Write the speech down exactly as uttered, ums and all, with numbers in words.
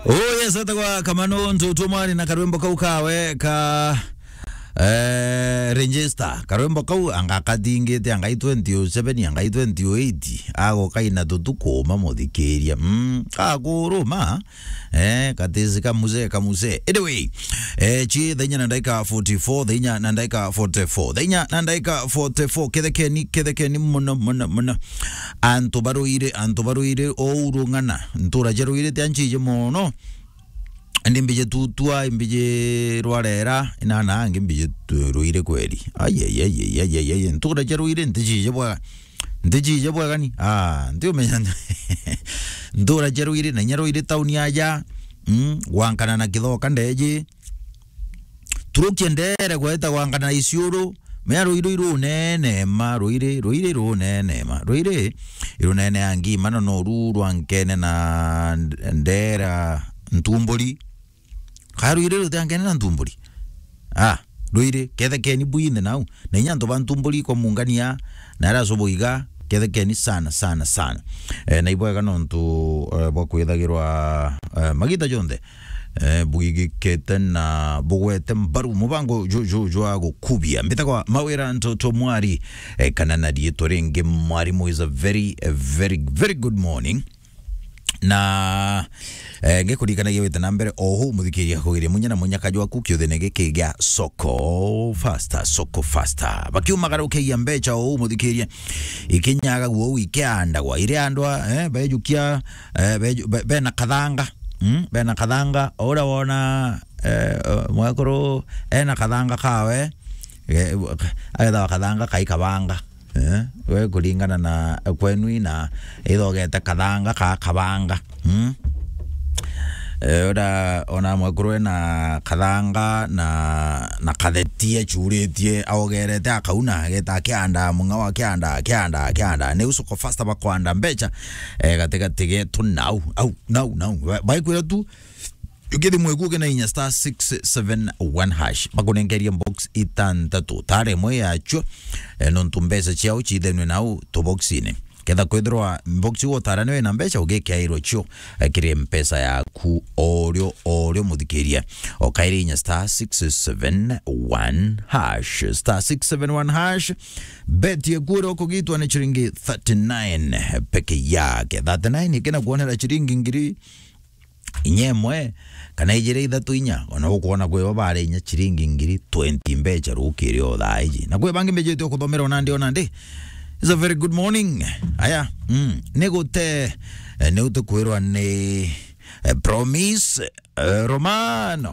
Oh yes, etagwa Kamano Ntutu Mwari na karwimbo kau kawe ka, eh, register. Karwimbo kau anga kathingite, anga i twenty oh seven, anga i twenty oh eight. Ago kaina tutuku ma muthikiria. Mm, kakuruma. Eh, katisi ka mzee, ka mzee. Anyway, eh, chi thaa inya na ndaika forty-four, thaa inya na ndaika forty-four, thaa inya na ndaika forty-four, kethekeni, kethekeni muno, muno, muno. Antu baruire, antu baruire, ourung'ana, ntura cia ruire tia nchiji mono. Ndi mbiji tutua, mbiji rwarera, inana, angi mbiji tu-, ruire kweri. Ai, ai, ai, ntura cia ruire, ntichiji bwa Ntichije bwega ni? Ah, ntiumenya. Ntura cia ruiri na inya ruiri tauni aja. Mm, gwankana na kithoka ndeji. Turukie ndere gweta gwankana na isiuru. Mea ruiri runene ma, ruiri, ruiri runene ma. Ruiri irunene angi, mano no ru rwankene na ndera ntumburi. Ka ruiri rutiankene na ntumburi. Ah, ruiri, kethekeni bwinthe nau. Na inya antu ba ntumburi kwa mungania, na ara sobo iga, kethekeni sana, sana, sana. Eh, na ibwega nontu, eh, bwa kwithagirwa, eh, magita jonthe, eh, bwigikite na bugwete mbaru mubango ju-, ju-, jwa gukubia. Mbitagwa Mawira Ntoto Mwari, eh, kana na riitwa ringi Mwarimu is a very, a very, very good morning. Na, eh, ngikurikanagia wite na mbere o huu, muthikiria, kugiria munya na munyaka jwaku kiuthene giki gia Soko Faster, Soko Faster. Bakiumagarukia mbecha o huu, muthikiria, ikinyaga guo ikiandagwa. Ire andwa, eh, bejukia, eh, beju-, be-, bena kathanga. Mm, bena kathanga, ura wona, eh, mwekuru ena kathanga kawe, eh, agethawa kathanga kai kabanga. Eh, we kuringana na kwenu ina ithogete kathanga ka kabanga. Mm? Eh, ura ona mwekuru ena kathanga na, na katheti echuritie, aogerete akauna, ageta akianda, mung'ao akianda, akianda, akianda. Niu Soko Faster bakwanda mbecha, eh, gatigati getu nau, au, nau, nau. Ba-, baikwira tu, ukithi mweku uke na inya star six seven one hash. Bakunengeria box itantatu. Tare imwe yacio, eh, nontu mbeca ciao ciithenwe nau tuboxine. Ketha kwithirwa box iu utara niwe na mbeca, ugikiairwa cio, eh, kiri mpesa yaku orio, orio muthikiria. Okaire inya star six seven one hash. Star six seven one hash. Beti eku uria ukugitwa ni ciringi thirty-nine peke yake. Thirty-nine ikina kuonera ciringi ngiri inya imwe, kana ijiri ithatu inya, ona ukwona kwi bo bari inya ciringi ngiri twenty mbecha rukiri o thaa iji. Na kwi bangi mbijite ukuthomera ona ndi, ona ndi. It's a very good morning. Aya, mm, ni gute, eh, ni utukwirwa ni, eh, Promise, eh, Romano.